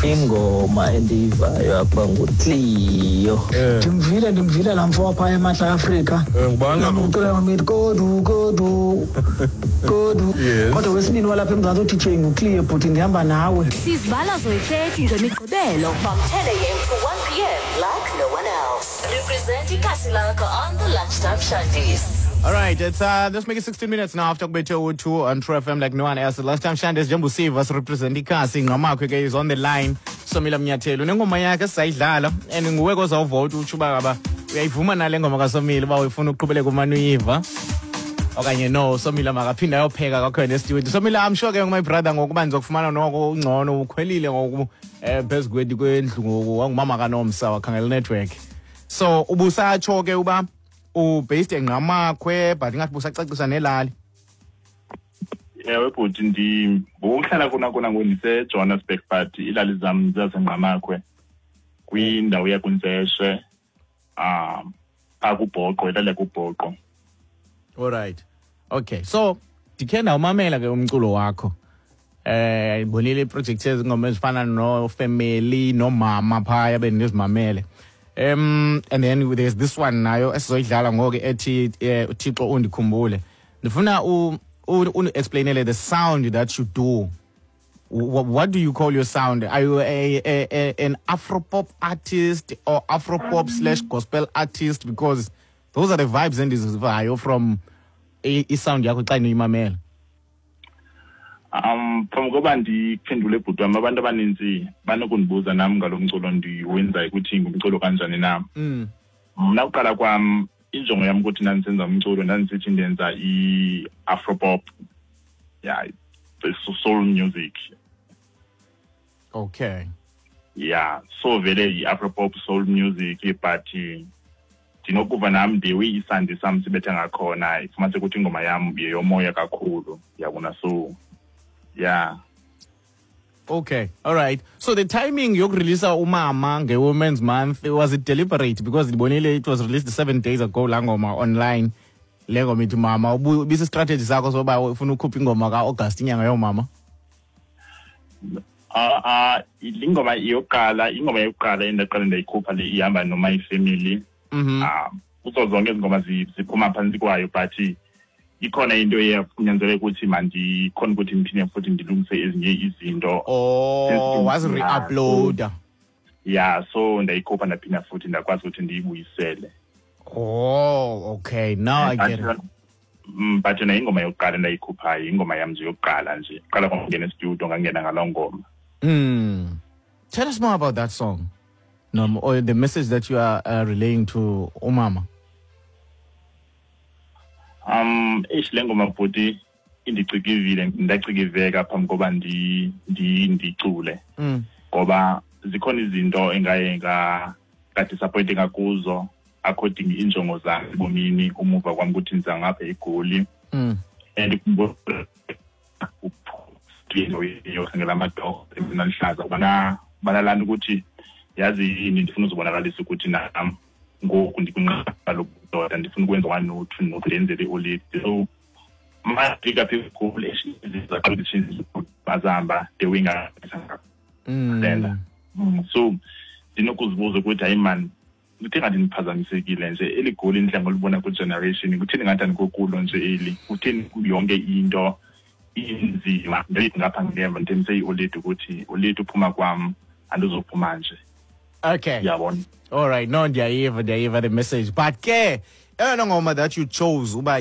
Ingoma endiyivayo apha nguCleo. Ndimvile, ndimvile laa mfo wapha eMantla Afrika. Ngubani kaloku? Ucula ngometi kodu kodu kodu. Kodwa wesibini walapha eMzantsi uDJ nguCleo, bhuti, ndihamba nawe. Sizibala zoyi-30 ngeMigqibelo from 10 a.m. to 1 p.m. like no one else. Represent ikasi lakho on the Lunchtime Shandies. All right, it's let's make it 16 minutes now after kubethe u2 on True FM like no one else. Lunchtime Shandies, njengoba usiva sirepresent ikasi, Ngqamakhwe ke is on the line. Somila Mnyathelo nengoma yakhe esizayidlala and nguwe kozawuvota utsho uba ngaba uyayivuma nale ngoma kaSomila, uba ufuna uqhubeleka umane uyiva okanye no, Somila makaphinde ayopheka kwakhona estudio. Somila, I'm sure ke, my brother, ngokuba ndizokufumana noko ungcono, ukhwelile ngoku phezu kwethu kwendlu ngoku, wangumama kaNomsa wakhangela network. So ubusatsho ke uba ubased eNgqamakhwe, but ingathi busacacisa nelali. Ewe bhuti, ngokuhlala kona kona ngoku ndiseJohannesburg, but iilali zam zaseNgqamakhwe kwindawo yakuNtseshe, phaa kuBhoqo, ilali yakuBhoqo. Alright, okay, so ndikhe ndawumamela ke umculo wakho, ndibonile iiprojekthi ezingoma ezifana noFamily noMama phaya bendizimamele, and then there's this one nayo esizoyidlala ngoku ethi uThixo Undikhumbule. Ndifuna undi-explainele the sound that you do. What do you call your sound? Are you an Afropop artist or Afropop/gospel artist? Because those are the vibes endizivayo from isound yakho xa ndiyimamela. Phambi koba ndiphendule, bhuti wam, abantu abanintsi banokundibuza nam ngalo mculo ndiwenzayo ukuthi ngumculo kanjani na. Mna kuqala kwam, injongo yam ukuthi ndandisenza umculo, ndandisithi ndenza i-Afropop, yeah, soul music. Yeah, so vele i-Afropop soul music, but ndinokuva nam ndiwe isandi sam sibetha ngakhona, ifumanise ukuthi ingoma yam yeyomoya kakhulu, yabona? So yeah. Okay, all right. So the timing yokureleasa uMama nge-Women's Month, was it deliberate? Because ndibonile it was released 7 days ago laa ngoma online. Le ngoma ithi Mama, ibisi-strategy sakho soba ufuna ukhupha ingoma ka-August, inyanga yoomama? Ah, ingoma yokuqala, ingoma yokuqala endaqala ndayikhupha le ihamba no-My Family. Kuzo zonke izingoma ziphuma phantsi kwayo, but ikhona into eyakunyanzeleka ukuthi mandikhona ukuthi ndiphinde futhi ndilungise ezinye izinto. Oh, wazi-re-uploada. Yeah, so ndayikhupha, ndaphinda futhi ndakwazi ukuthi ndiyibuyisele. Oh, okay. Now I get it. But yona ingoma yokuqala endayikhuphayo, ingoma yam nje yokuqala nje, qala kwangena estudio, ngangena ngaloo ngoma. Tell us more about that song. No, or the message that you are relaying to umama. Eish, le ngoma bhuti indicikivile, ndacikiveka phambi koba ndicule ngoba zikhona izinto engaye ngadisappointinga kuzo according injongo zam ebomini, umuva kwam ukuthi ndiza ngapha eGoli and yokhangela amadorho naluhlaza ubana banalaa nto ukuthi yazi yini, ndifuna uzibonakalisa ukuthi nam ngoku ndikwinqaba lobudoda, ndifuna ukwenza one no two no ndenzele ioledi. So mafika apha eGoli bazihamba the way ngasenza. So ndinokuzibuza ukuthi hayi man, kuthe ngathi ndiphazamisekile nje, eli Goli ndidla ngolibona kwi-generation, kutheni ngathi andikokulo nje eli? Kutheni yonke into inzima? Ngapha ngemva ndithembise ioledi ukuthi oledi uphuma kwam andizophuma nje. Yabona? All right, no, ndiyayiva, ndiyayiva the message. But ke eyona ngoma that you chose uba